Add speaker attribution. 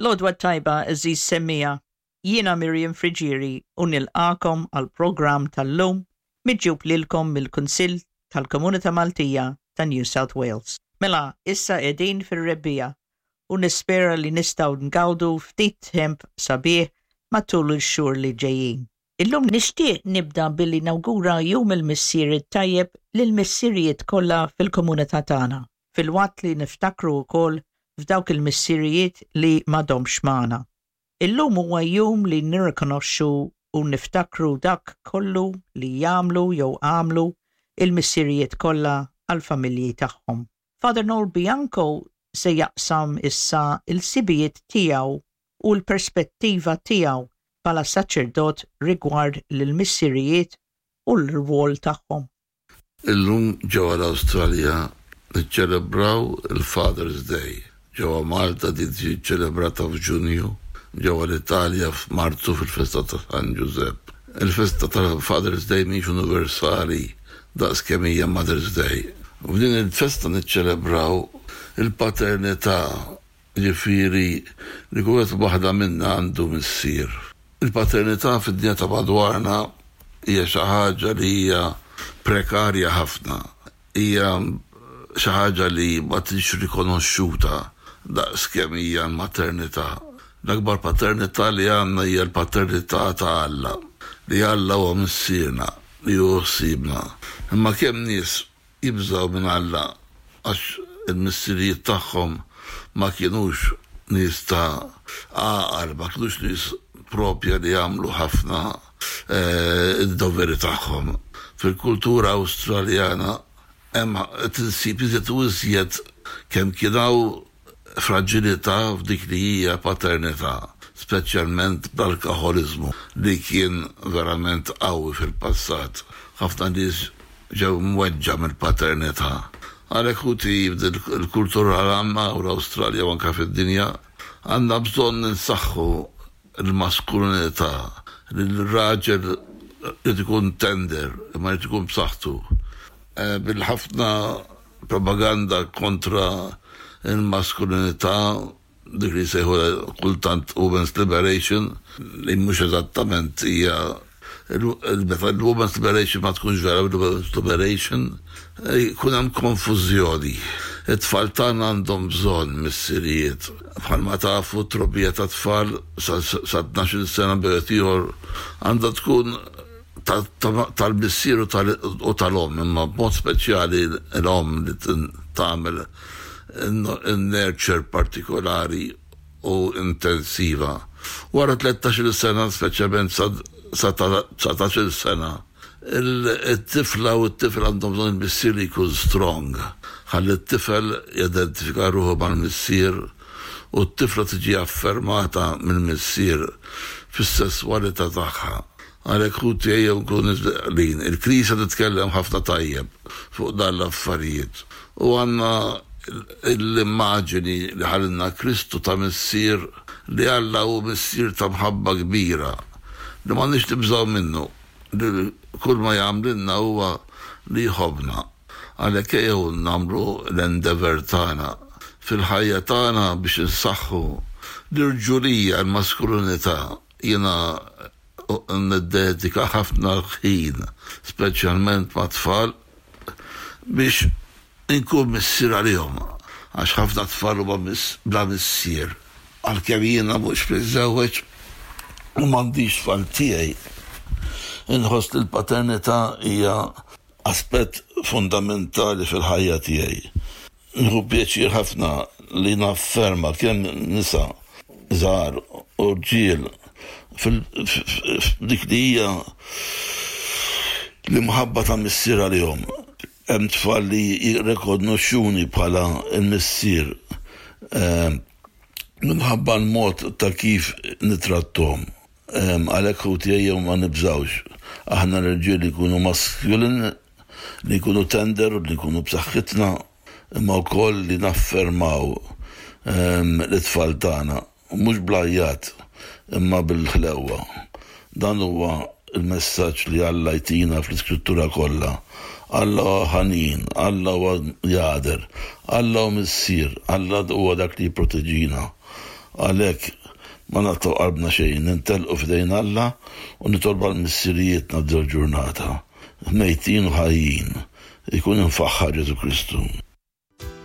Speaker 1: L-għodwa t-tajba għeżież semmiegħa, jiena Miriam Friggieri u nilqagħkom għall-programm tal-lum miġjub lilkom mill-Kunsill tal-Komunità Maltija ta' New South Wales. Mela, issa qegħdin fir-rebbiegħa u nispera li nistgħu ngawdu ftit temp sabiħ matul il-xhur li ġejjin. Illum nixtieq nibda billi nawgura Jum il-Missier it-Tajjeb lill-missirijiet kollha fil-komunità tagħna, filwaqt li niftakru wkoll f'dawk il-missirijiet li m'għadhomx magħna. Illum huwa jum li nirrikonoxxu u niftakru dak kollu li jagħmlu jew għamlu il-missirijiet kollha għall-familji tagħhom. Father Noel Bianco se jaqsam issa l-ħsibijiet tiegħu u l-perspettiva tiegħu bħala saċerdot rigward l-missirijiet u l-rwol tagħhom.
Speaker 2: Illum ġewwa l-Awstralja niċċelebraw il-Father's Day. Ġewwa Malta din tiġi ċċelebrata f'Ġunju, ġewwa l-Italja f'Marzu fil-festa ta' San Ġużepp. Il-festa ta' Father's Day mhix universali daqs kemm hija Mother's Day. F'din il-festa niċċelebraw il-paternità, jiġifieri li kull wieħed u waħda minna għandu missier. Il-paternità fid-dinja ta' madwarna hija xi ħaġa li hija prekarja ħafna. Hija xi ħaġa li ma tiġix rikonoxxuta daqs kemm hija l-maternità. L-akbar paternità li għandna hija l-paternità ta' Alla, li Alla huwa Missierna, li jieħu ħsiebna. Imma kemm nies jibżgħu minn Alla għax il-missirijiet tagħhom ma kinux nies ta' għaqal, ma kinux nies propja li jagħmlu ħafna id-doveri tagħhom. Fil-kultura Awstraljana hemm qed insib iżjed u iżjed kemm kien hawn fraġilità f'dik li hija paternità, speċjalment bl-alkaħoliżmu li kien verament qawwi fil-passat. Ħafna nies ġew mweġġa' mill-paternità. Għalhekk ħuti f'din il-kultura li għandna hawn l-Awstralja u anke fid-dinja, għandna bżonn insaħħu l-maskulinità, li l-raġel irid ikun tender imma jrid ikun b'saħħtu. Bil-ħafna propaganda kontra l-maskulinità, dik li jsejħulha kultant women's liberation, li mhux eżattament hija meta l-women's liberation ma tkunx vera women's liberation, jkun hemm konfużjoni. It-tfal tagħna għandhom bżonn missirijiet. Bħalma tafu t-trobbija tat-tfal sa 12-il sena bejn ieħor għandha tkun tal-missier u tal-omm, imma b'mod speċjali l-omm li tagħmel in-nurture partikolari u intensiva. Wara 13-il sena, speċjalment sa 19-il sena, it-tifla u t-tifel għandhom bżonn il-missier li jkun strong, ħalli t-tifel jidentifika ruħu mal-missier u t-tifla tiġi affermata mill-missier fis-sesswalità tagħha. Għalhekk ħuti ejjew nkunu għaqlin. Il-Knisja titkellem ħafna tajjeb fuq dan l-affarijiet. U għandna l-immaġini li ħalilna Kristu ta' missier li Alla hu missier ta' mħabba kbira li m'għandniex nibżgħu minnu, li kull ma jagħmlilna huwa li jħobbna. Għalhekk ejjew nagħmlu l-endeavour tagħna fil-ħajja tagħna biex insaħħu l-irġulija, l-maskulinità. Jiena niddedika ħafna ħin, speċjalment mat-tfal, biex inkun missier għalihom, għax ħafna tfal huma bla missier. Għalkemm jiena mhux miżżewweġ u m'għandix tfal tiegħi, inħoss li l-paternità hija aspett fundamentali fil-ħajja tiegħi. Nieħu pjaċir ħafna li nafferma kemm nisa żgħar u rġiel f'dik li hija l-imħabba ta' missier għalihom. Hemm tfal li jirrikonoxxuni bħala l-missier minħabba l-mod ta' kif nitratthom. Għalhekk ħuti ejjew ma nibżgħux. Aħna l-irġiel li nkunu masculine, li nkunu tender u li nkunu b'saħħitna, imma wkoll li naffermaw lit-tfal tagħna, mhux bl-għajjat imma bil-ħlewwa. Dan huwa l-messaġġ li Alla jtina fl-Iskrittura kollha. Alla huwa ħanin, Alla huwa jagħder, Alla hu Missier, Alla huwa dak li jipproteġina. Għalhekk ma naqtgħu qalbna xejn, nintelqu f'idejn Alla u nitolbu għal missirijietna f'dil-ġurnata, mejtin u ħajjin. Ikun imfaħħar Ġesù Kristu.